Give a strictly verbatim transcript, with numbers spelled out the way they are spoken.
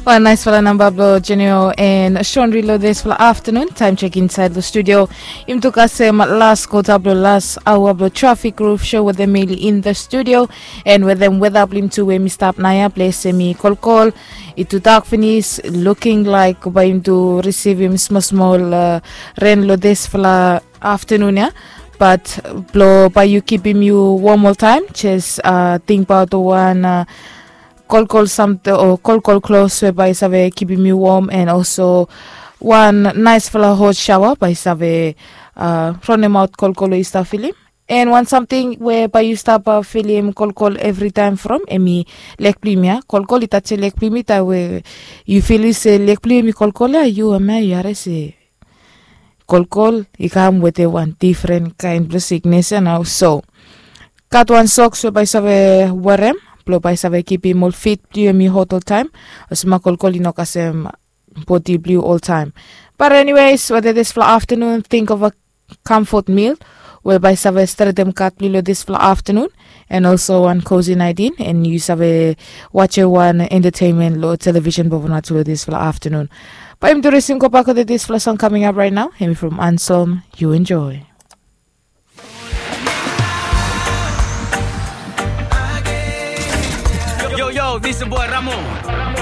Bai naisfala namba blong Jenio en Shonri long dispela aftanun. Taim chek insait long studio, im tu kasem las kota blong las aua blong Trafik Ruf Show wetem Mili in the studio. En wetem weda blong im tu we mi stap naia ples em i kolkol, i tu dak finis, luking laik bai im tu risivim smol smol ren long dispela aftanun ya. Bat blong bai yu kipim yu wom oltaim, jes tingbaot wan kolkol samting o kolkol klos we bai i save kipim yu wom, en olso wan naisfala hot shaoa bai i save ronimaot kolkol we yu stap filim. En wan samting we bai yu stap filim kolkol evritaim from em i lek blong yumi ya. Kolkol i tasim lek blong yumi, taim we yu filim se lek blong yumi kolkol ya, yu em ya yu harim se kolkol i kam wetem wan difren kain blong siknes ya nao. So gat wan soks we bai i save werem blong bai i save kipim ol fit blong yumi hot oltaim, olsem kolkol i no kasem bodi blong yu oltaim. Bat eniwes, wetem dispela aftanun, think of a comfort meal we bai i save stretem gat blong yu long dispela aftanun, en olso wan cozy night in, en yu save wajem wan entertainment long television bobonatu long dispela aftanun. Bai yumi tu risim go bak wetem dispela song coming up right now, em i from Anselm. Yu enjoy. Yo, yo, this is boy Ramo.